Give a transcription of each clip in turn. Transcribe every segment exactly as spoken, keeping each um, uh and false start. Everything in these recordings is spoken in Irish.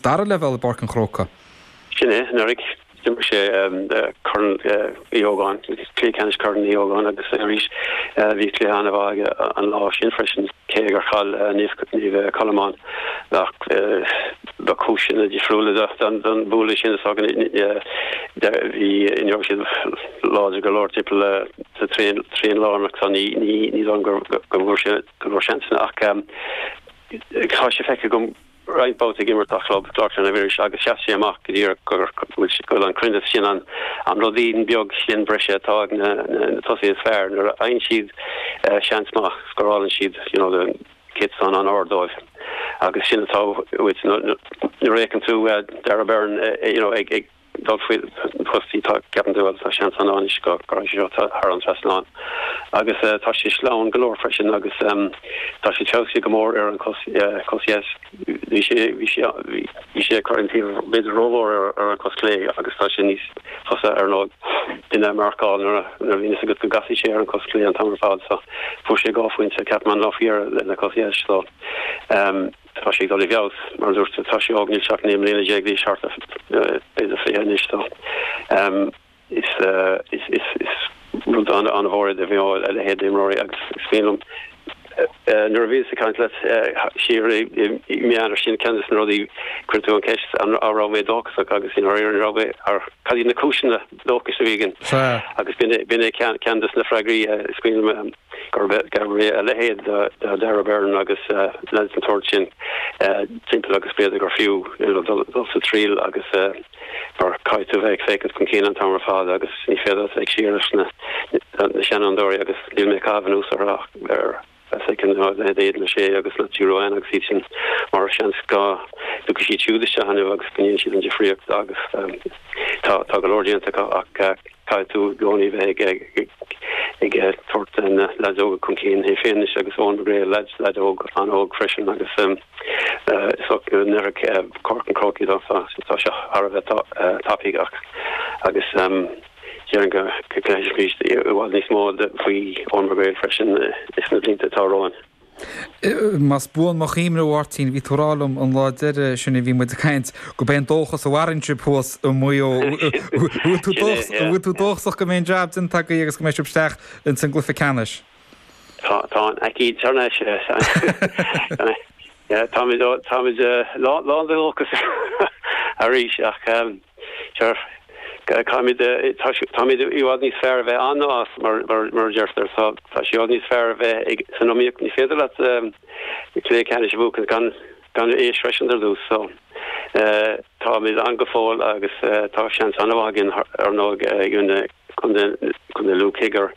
Dara leibhéal i bPáirc an Chrócaigh. Sin é, anuraidh d'imir sé Corn Uí Ógáin, cluiche ceannais Corn Uí Ógáin agus arís bhí cluiche an-mhaith aige an lá sin freisin, cé gur chaill Naomh Colmán ach ba cúiseanna difriúla don bhualadh sin is bhí ní raibh siad láidir go leor timpeall sa trian lárnach so ní ní dóigh go bhfuair sé go leor seansanna ach tá sé feicthe agam roinnt babhtaí ag imirt dá chlub, Clár na bhFiris, agus sheas sé amach go díreach go bhfuil an cruinneas sin an an ruidín beag sin breise atá ag na na tosaithe is fearr nuair a fhaigheann siad seans maith scórálann siad you know the céatadán an-ard dóibh agus sin atá uait nuair a fheiceann tú Darragh Beirne you know ag ag dul faoi postaí tá ceapann tú tá seans an anois go go seo thar an trasnán agus tá sé sleamhain go leor freisin agus tá sé feabhsaithe go mór ar an cos cos dheis bhí sé bhí sé bhí sé ag cur an taobh b'fhéidir rómhór ar ar an cos clé agus tá sé níos fusa ar ndóigh duine a mharcáil nuair nuair a bhíonn a fhios agat go gcasfaidh sé ar an cos clé an t-am ar fad so fuair sé dhá phointe ceapaim an lá faoi dheireadh lena cos dheis so um, tá sé ag dul i bhfeabhas mar dúirt tá sé óg níl sé ach naoi mbliana déag d'aois thart b'fhéidir fiche anois so um, is, uh, is, is, is rud an an-mhór de bhí a leithéid d'imreoirí agus is féin liom nuair a bhíos ag caint leat siar i meán sin ceann de na rudaí chuir tú an ceist an raibh mé dóchasach agus in ar raibh mé ar cad iad na cúiseanna dóchais a bhí againn agus b'in é ceann de na freagraí is cuimhin gurb é a leithéid de Darragh Beirne agus leis an tsórt sin timpeall agus b'fhéidir gur fiú dul sa triail agus mar caithfidh tú bheith ag féachaint chun cinn an t-am ar fad agus ní féidir ag siar leis na na seanfhondúirí agus níl mé ag caitheamh anuas ar ar leithéid na sé agus le tíúáin agus iad sin mar seans go dtiocfaidh siad siúd isteach inniu agus go ndéanfaidh siad an difríocht agus tá tá go leor déanta ach caithfidh tú i gcónaí bheith ag ag tabhairt na leaids óga chun cinn é féin agus Eoin McGrail leaid leaid óg an-óg freisin agus is nuair Páirc an Chrócaigh tá sé thar a bheith tapaidh ach agus déarfainn go gcloisfimid i bhfad níos mó faoi Eoin McGrail freisin is na blianta atá romhainn. Más buan mo chuimhne a Mháirtín, bhí tú ag rá liom an lá deiridh sin a bhí muid ag caint go b'é an dóchas a mhaireann sibh thuas i Maigh Eo. Bhfuil tú dóchasach go mbeidh an jab déanta agaibh agus go mbeidh sibh isteach ins an gcluiche ceannais? Tá tá an aicíd thar n-ais. Táimid táimid lán de dhóchas arís ach sure Táimid táimid i bhfad níos fearr a bheith ann ná as mar mar a deirtear so tá sé i bhfad níos fearr a bheith ag san iomaíocht ní féidir leat cluiche ceannais a bhuachan gan gan é a shroisint ar dtús so táimid ann go fóill agus tá seans an-mhaith againn ar ndóigh i gcoinne Contae Contae Lú cé gur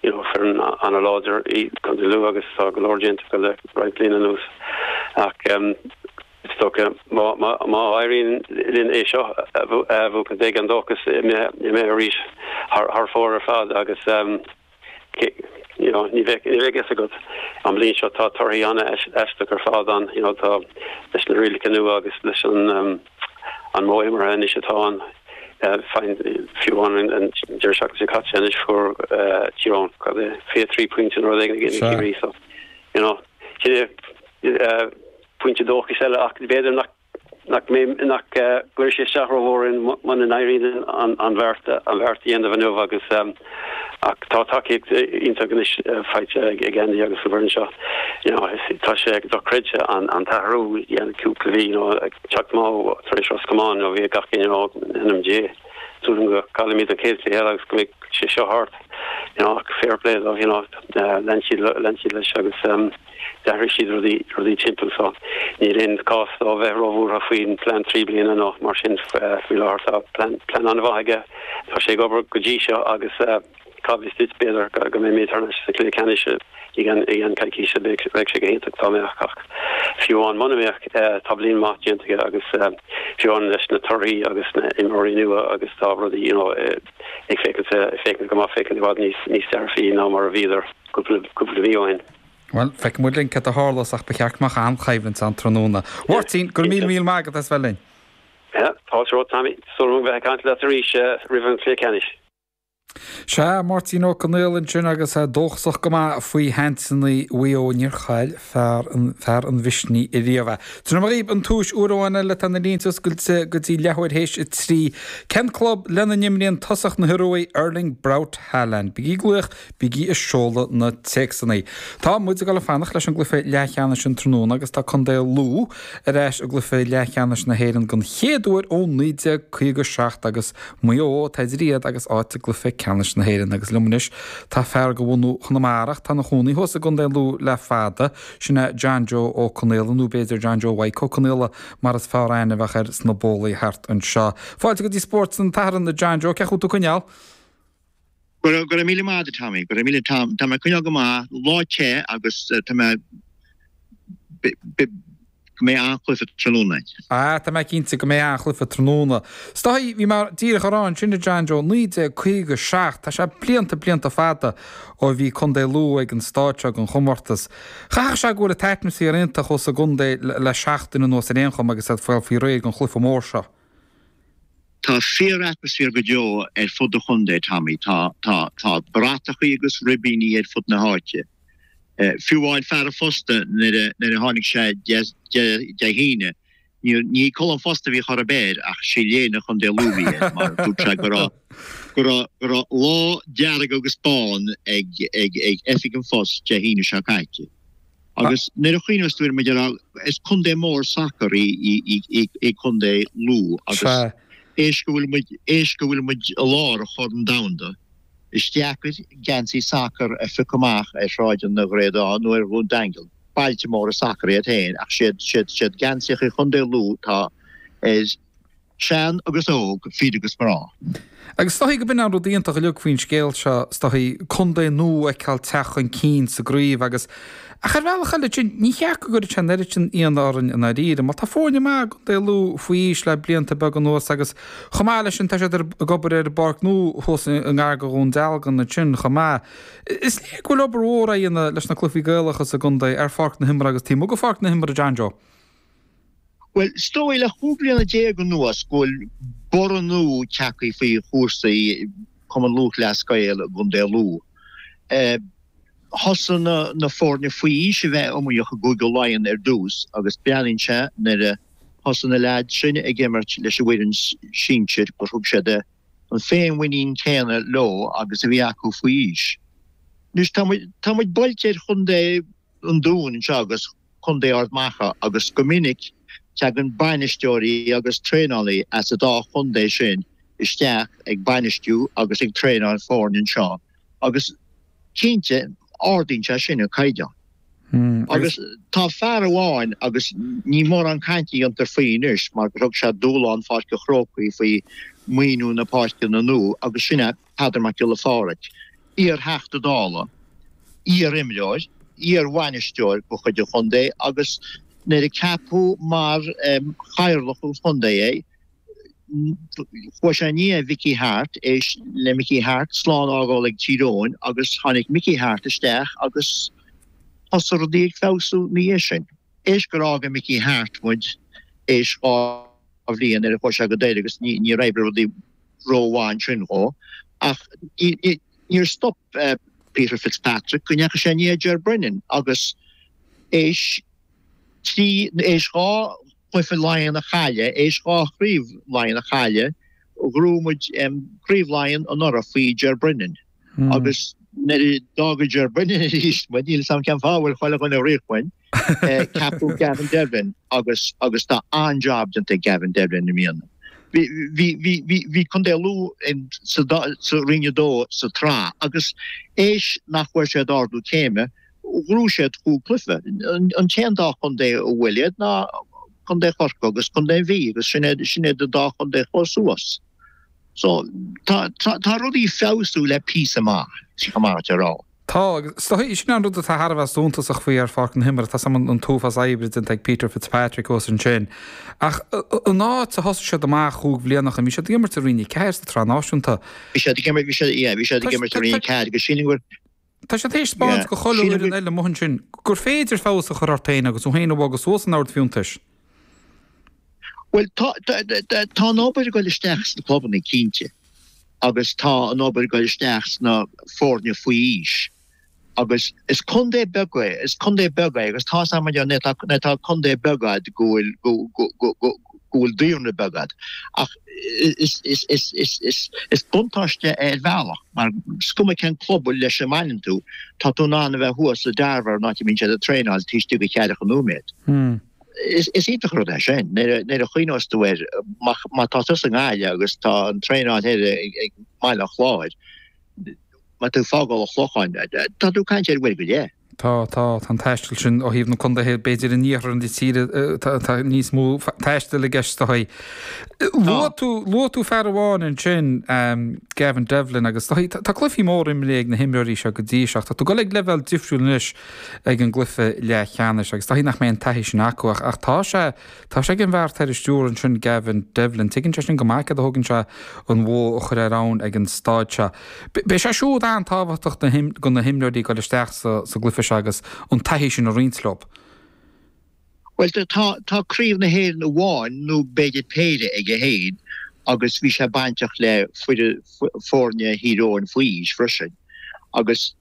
you know foireann an-láidir í Contae Lú agus tá go leor déanta acu le roinnt bliana anuas ach Is dócha, má éiríonn linn é seo a bhuachan, beidh an dóchas imithe arís thar fóir ar fad agus you know ní bheidh a fhios agat. An bhliain seo tá torthaí an-aisteach ar fad ann, you know tá leis na rialacha nua agus leis an an modh imeartha anois atá ann, fiú amháin an deireadh seachtaine seo caite anois fuair Tír Eoghain cad é fiche trí pointe nó rud éigin in aghaidh Chiarraí so you know sin é. Pointe dóchais eile ach b'fhéidir nach nach mbeidh nach gcuirfidh sé isteach rómhór orainn muna n-éiríonn an an bheart an bheart a dhéanamh inniu agus ach tá tacaíocht iontach anois faighte ag ag Andy agus an bhfoireann seo. You know tá sé dochreidte an an t-athrú a dhéanamh cúpla mhí you know ag teacht amach tar éis Ros Comáin you know bhí gach éinne ag rá in ainm Dé súil agam go gcaillfimid an chéad chluiche eile agus go mbeidh sé seo thart you know ach fair play dóibh you know lean siad lean siad leis agus D'athraigh siad rudaí rudaí timpeall so níl aon cás dó bheith róbhuartha faoin plean trí bliana nó mar sin faoi láthair. Tá plean plean an-mhaith aige. Tá sé ag obair go dtí seo agus cá bhfios duit b'fhéidir go mbeimid thar n-ais sa chluiche ceannais i gceann i gceann coicíse. Bheadh bheadh sé go hiontach dá mbeadh ach fiú amháin muna mbeadh tá bliain mhaith déanta aige agus fiú amháin leis na torthaí agus na imreoirí nua agus tá rudaí you know ag féachaint féachaint go maith féachaint i bhfad níos níos dearfaí ná mar a bhíodar cúpla cúpla mí ó shin. Bhuel, feicfidh muid linn cad a tharlós ach ba cheart go mbeadh an-choimhlint ann tráthnóna. A Mháirtín, go raibh míle míle maith agat as bheith linn. Fáilte romhat, Tommy. Súil agam bheith ag caint leat arís roimh an chluiche ceannais. Sea, Máirtín Ó Conaola ansin agus é dóchasach go maith faoi sheansanna Mhaigh Eo, níor chaill fear an fear an mhisnigh ariamh é. Tabharfaidh mé dhaoibh an tomhas uair amháin eile tá na línte oscailte go dtí leathuair théis a trí. Cén club lena n-imríonn tosach na hIorua Erling Braut Haaland? Bígí ag glaoch, bígí ag seoladh na téacsanna. Tá muid ag dul ag fanacht leis an gcluiche leathcheannais an tráthnóna agus tá Contae Lú ar ais i gcluiche leathcheannais na hÉireann den chéad uair ó naoi déag caoga seacht agus Maigh Eo atá idir iad agus áit i gcluiche ceannais na hÉireann agus liom anois tá fear de bhunadh Chonamara ach tá ina chónaí thuas i gContae Lú le fada, sin é John Joe Ó Conaola nó b'fhéidir John Joe Mhaidhc Ó Conaola mar is fearr aithne a bheadh air sna bólaí thart anseo. Fáilte go dtí Spórt an tSathairn a John Joe, cén chaoi a bhfuil tú ag coinneáil? Go raibh go raibh míle maith agat Tommy, go raibh míle tá tá mé ag coinneáil go maith, lá te agus tá mé go mbeidh an-chluiche tráthnóna. Ah, tá mé cinnte go mbeidh an-chluiche tráthnóna. Is dóigh, bhí mé díreach a rá ansin a John Joe, naoi déag caoga seacht, tá sé blianta, blianta fada ó bhí Contae Lú ag an stáid seo den chomórtas. Chaithfeadh sé go bhfuil an t-atmaisféar iontach thuas sa gcontae le seachtain anuas ar aon chuma agus iad ag fáil faoi réir don chluiche mór seo. Tá fíor-atmaisféar go deo ar fud an chontae, Tommy. Tá, tá, tá bratachaí agus ribíní ar fud na háite. Fiú amháin fear an phosta nuair a nuair a tháinig sé Dé hAoine, ní ní culaith an phosta a bhí chor ar bith air ach sé léine Chontae Lú a bhí air mar dúirt sé go raibh go raibh go raibh lá dearg agus bán ag ag ag oifig an phost Dé hAoine seo caite. Agus nuair a chuimhneos tú air mar a déarfá is contae mór sacair í í í í í Contae Lú agus éis go bhfuil muid éis go bhfuil muid i lár an Chorn Domhanda Is deacair geansaí sacair a phiocadh amach ar shráideanna Ghréadáin nó ar Dhún Daingean, bailte móra sacair iad féin, ach siad siad siad geansaíocha Chontae Lú atá ar shean agus óg, fir agus mná. Agus is dóichí go b'in an rud iontach uilig faoin scéal seo, is dóichí, contae nua a fheiceáil teacht chun cinn sa gcraobh agus, ach ar bhealach eile ansin, ní cheart go gcuirfeadh sé an oiread sin ionadh orainn i ndáiríre, mar tá foirne maith i gContae Lú faoi aois le blianta beaga anuas agus chomh maith leis sin tá siad ag obair ar an bpáirc nua thuas i ngar do Dhún Dealgan ansin chomh maith. Is léir go bhfuil obair mhór á dhéanamh leis na cluichí Gaelacha sa gcontae ar pháirc na himeartha agus taobh amuigh de pháirc na himeartha, John Joe. Bhuel, is dóigh le chúig bliana déag anuas go bhfuil borradh nua tagtha faoi chúrsaí Cumann Lúthchleas Gael i gContae Lú. Thosaigh na foirne faoi aois a bheith iomaíoch i gCúige Laighean ar dtús agus breathnaíonn sé nuair a thosaigh na leaids sin ag imirt leis an bhfoireann sinsir gur thug siad an féinmhuinín céanna leo agus a bhí acu faoi aois. Anois tá muid tá muid buailte ar chontae an Dúin anseo agus contae Ard Mhacha agus go minic tagann bainisteoirí agus traenálaí as an dá chontae sin isteach ag bainistiú agus ag traenáil foirne anseo agus cinnte, ardaíonn sé sin an caighdeán. Agus tá fear amháin, agus ní mórán cainte a dhéantar faoi anois mar gur thug sé dúshlán Pháirc an Chrócaigh faoi mhaoiniú na páirceanna nua, agus sin é Peadar Mac Giolla Phádraig, iar-Theachta Dála, iar-imreoir, iar-bhainisteoir de chuid an chontae agus nuair a ceapadh mar chathaoirleach an chontae é, Chuaigh sé i ndiaidh Mhickey Harte, éis le Mickey Harte slán a fhágáil ag Tír Eoghain agus tháinig Mickey Harte isteach agus thosaigh rudaí ag feabhsú ina dhiaidh sin. Éis gur fhága Mickey Harte muid éis dhá bhliain nuair a chuaigh sé go Doire agus níor oibrigh rudaí rómhaith ansin dhó ach níor stop Peter Fitzpatrick go ndeachaigh sé i ndiaidh Ger Brennan agus éis trí, éis dhá chluiche Laighean a chailleadh, éis dhá chraobh Laighean a chailleadh, ghnóthaigh muid Craobh Laighean anuraidh faoi Ger Brennan agus nuair a d'fhága Ger Brennan arís muid, níl 'fhios a'm cén fáth a bhfuil chuile dhuine ag rith uainn, ceapadh Gavin Devlin agus agus tá an-jab déanta ag Gavin Devlin i mbliana. Bhí bhí bhí bhí bhí Contae Lú sa sa Roinn a Dó sa tsraith agus éis nach bhfuair siad ardú céime, Ghnóthaigh siad cúig cluiche. An t-aon dá chontae a bhuail iad ná Contae Chorcaí agus Contae an Mhí agus sin iad sin iad an dá chontae a chuaigh suas. So tá tá rudaí ag feabhsú le píosa maith, chomh maith a rá. Tá, agus is dóigh, sin an rud atá thar a bheith suntasach faoi ar pháirc na himeartha, tá 's a'm an t-uafás oibre déanta ag Peter Fitzpatrick thuas ansin. Ach an áit a thosaigh siad amach chúig bhliana ó shin, bhí siad ag imirt i Roinn a Ceathair sa tSraith Náisiúnta. Bhí siad ag imirt, bhí siad, yeah, bhí siad ag imirt i Roinn a Ceathair agus sílim gur, Tá siad théis spáint go chuile fhoireann eile amuigh ansin gur féidir feabhas a chur ort féin agus thú féin a bhogadh suas an ord fiúntais. Bhuel, tá, tá an obair ag dul isteach sna clubanna, cinnte. Agus tá an obair ag dul isteach sna foirne faoi aois. Agus is contae beag é, is contae beag é agus tá a fhios agat nuair atá contae beag agat go bhfuil go go go go go bhfuil daonra beag agat. Ach is is is is is is buntáiste é ar bhealach mar is cuma cén club leis a mbaineann tú, tá tú in ann a bheith thuas sa Darver an áit a mbíonn siad ag traenáil taobh istigh de cheathracha nóiméad. Is is iontach an rud é sin nuair nuair a chuimhneos tú air má má tá tusa i nGaillimh agus tá an traenáil thoir ag ag mBaile an Chláir, má tá tú ag fágáil an Chlocháin, tá tú ag caint ar uair go leith. Tá, tá, tá an taisteal sin ó thaobh na contaetha, b'fhéidir in iarthar na tíre, tá níos mó taistil i gceist is dóichí. Luaigh tú, luaigh tú fear amháin ansin, Gavin Devlin, agus tá, tá cluichí móra imeartha ag na himreoirí seo go dtí seo ach tá tú ag dul ag leibhéal difriúil anois ag an gcluiche leathcheannais agus is dóichí nach mbeidh an taithí sin acu ach, ach tá sé, tá sé ag an bhfear atá ar an stiúir ansin, Gavin Devlin. Tuigeann sé sin go maith céard a thógann sé an bhó a chur ar abhainn ag an staid seo. Beidh sé siúd an-tábhachtach do na himreoirí ag dul isteach sa gcluiche seo agus an taithí sin a roinnt leo. Bhuel, tá tá Craobh na hÉireann amháin nó b'fhéidir péire aige féin agus bhí sé bainteach le foirne Thír Eoghain faoi aois freisin agus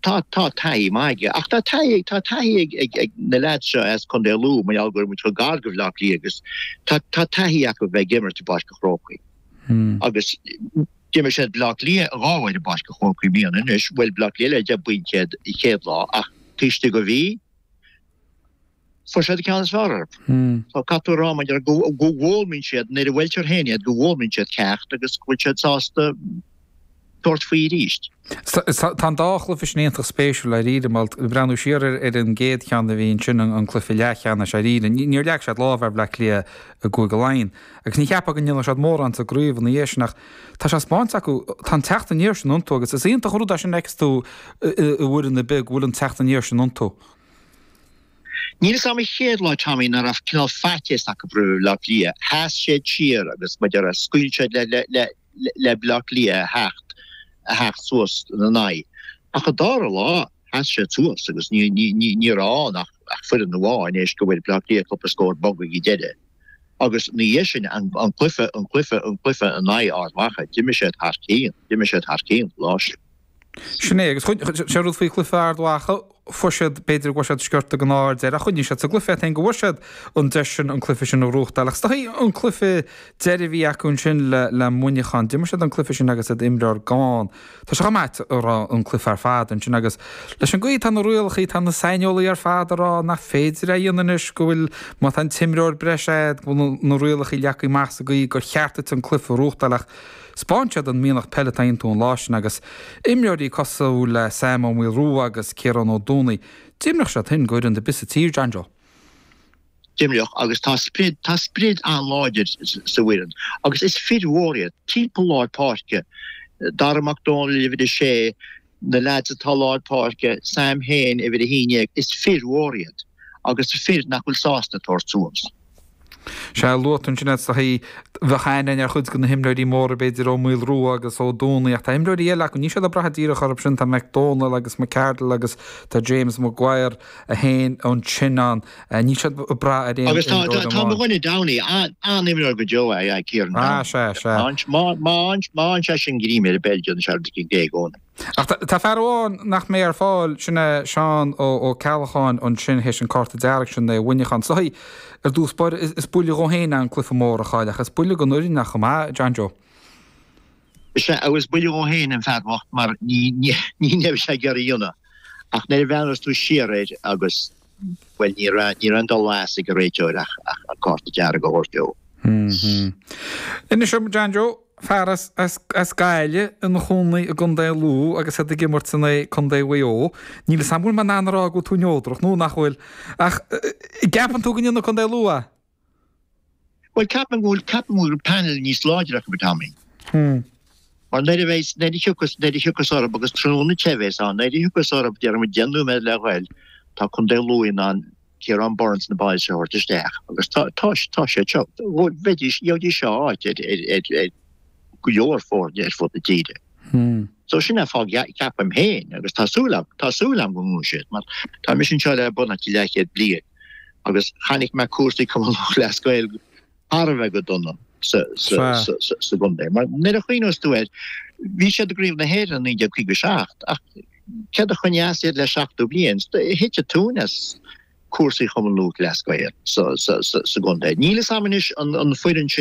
tá tá taithí maith aige. Ach tá taithí tá taithí ag ag ag na leaids seo as Contae Lú mar gheall go raibh muid chomh gar do Bhaile Átha Cliath agus tá tá taithí acu bheith ag imirt i bPáirc an Chrócaigh. Agus D'imir siad Baile Átha Cliath dhá uair i bPáirc an Chrócaigh i mbliana anois. Bhuail Baile Átha Cliath le deich bpointe iad an chéad lá ach taobh istigh de mhí, fuair siad an ceann is fearr orthu. So caithfidh tú a rá maidir go bhfoghlaimíonn siad nuair a bhuailtear féin iad go bhfoghlaimíonn siad ceacht agus go bhfuil siad sásta tabhairt faoi arís. Tá an dá chluiche sin iontach spéisiúil dáiríre, mar ag breathnú siar ar an gcéad cheann a bhí ansin, an cluiche leathcheannais dáiríre, níor leag siad lámh ar Bhleá Cliath i gCúige Laighean. Agus ní cheapfá go ndéanfadh siad mórán sa gcraobh ina dhiaidh sin ach tá sé spáinte acu, tá an teacht aniar sin iontu agus is iontach an rud é sin a fheiceas tú i bhfoireann ar bith go bhfuil an teacht aniar sin iontu. Níl fhios a'm an chéad lá Tommy nach raibh cineál faitíos acu roimh Bhleá Cliath, sheas siad siar agus mar a déarfá scaoil siad le le le le Bleá Cliath a theacht a theacht suas ina n-aghaidh. Ach an dara lá sheas siad suas agus ní ní ní ní raibh ann ach ach foireann amháin éis go bhfuair Bleá Cliath cúpla scór bog ag an deireadh. Agus ina dhiaidh sin an an cluiche an cluiche an cluiche in aghaidh Ard Mhacha d'imir siad thar cionn d'imir siad thar cionn an lá sin. Sin é, agus sé an rud faoi chluiche Ard Mhacha, fuair siad, b'fhéidir go bhfuair siad sciorta den ádh ar deireadh, ach choinnigh siad sa gcluiche iad féin go bhfuair siad an deis sin an cluiche sin a ghnóthachtáil. Ach is dóichí an cluiche deiridh a bhí acu ansin le le Muineachán, d'imir siad an cluiche sin agus iad imreoir gann. Tá sé chomh maith a rá an cluiche ar fad ansin agus leis an gcaoi atá na rialacha, tá na saineolaithe ar fad ag rá nach féidir é a dhéanamh anois, go bhfuil, má tá an t-imreoir breise agat, go bhfuil na rialacha leagtha amach sa gcaoi gur cheart duit an cluiche a ghnóthachtáil ach 'Spáin siad an mianach peile atá iontu an lá sin agus imreoirí cosúil le Sam Ó Maolrua agus Ciarán Ó Dúnaigh, d'imreodh siad sin d'fhoireann ar bith sa tír, John Joe. D'imreodh agus tá sprid, tá sprid an-láidir sa bhfoireann agus is fir mhóra iad, timpeall lár páirce, Dara Mac Dónaill uimhir a sé, na leaids atá lár páirce, Sam féin uimhir a haon déag, is fir mhóra iad agus fir nach bhfuil sásta tabhairt suas. Sea, luaigh tú ansin is dóichí, bheadh aithne ar chuid de na himreoirí móra, b'fhéidir Ó Maolrua agus Ó Dúnaigh, ach tá imreoirí eile acu, níl siad ag brath díreach orthu sin, tá McDonald agus McCardle agus tá James Maguire féin ansin ann, níl siad ag brath ar aon Agus tá imreoir tá mo amháin. dhuine Downey, an-imreoir go deo é, Kieran Ah, Downey. sea, sea. Má má má fhaigheann sé sin greim ar an bpeil, déanann sé rud éigin i gcónaí. Ach tá fear amháin nach mbeidh ar fáil, sin é Seán Ó Ceallacháin ansin théis an cárta dearg sin do Mhuineachán. Is dóichí, ar dtús báire, is buille dhó féin é an cluiche mór a chailleadh ach is buille don fhoireann é chomh maith, John Joe. Is ea, agus buille dhó féin an fear bocht mar ní raibh sé ag iarraidh a dhéanamh. Ach nuair a bhreathnas tú siar air agus, bhuel, ní raibh ní raibh aon dul as ag an réiteoir ach an cárta dearg a thabhairt dó. Inis dom, John Joe, fear as as Gaillimh ina chónaí i gContae Lú agus iad ag imirt in aghaidh Contae Mhaigh Eo. Níl 'fhios a'm an bhfuil mé in ann a rá go bhfuil tú neodrach nó nach bhfuil, ach gceapann tú go ndéanfaidh Contae Lú é? Bhuel, ceapaim go bhfuil, ceapaim go bhfuil panel níos láidre acu, Tommy. Mar nuair a bheidh, nuair a thiocfas, nuair a thiocfas orthu, agus tráthnóna te a bheas ann, nuair a thiocfas orthu, déarfaidh muid deich nóiméad le ghoil, tá Contae Lú in ann Ciarán Byrnes na boys a thabhairt isteach agus tá tá tá siad seo, bheidís, gheobhaidís seo áit ar ar ar ar go leor foirne ar fud na tíre. So sin é fáth ceapaim féin agus tá súil agam, tá súil agam go ngnóthóidh siad mar tá mise anseo le beagnach leathchéad bliain agus chonaic mé cúrsaí Cumann Lúthchleas Gael thar a bheith go dona. sa sa gcontae. Mar nuair a chuimhneos tú air, bhí siad i gCraobh na hÉireann naoi déag caoga seacht ach céard a choinnigh as iad le seachtó bliain? Thit an tóin as cúrsaí Chumann Lúthchleas Gael sa gcontae. Níl fhios a'm anois an foireann sin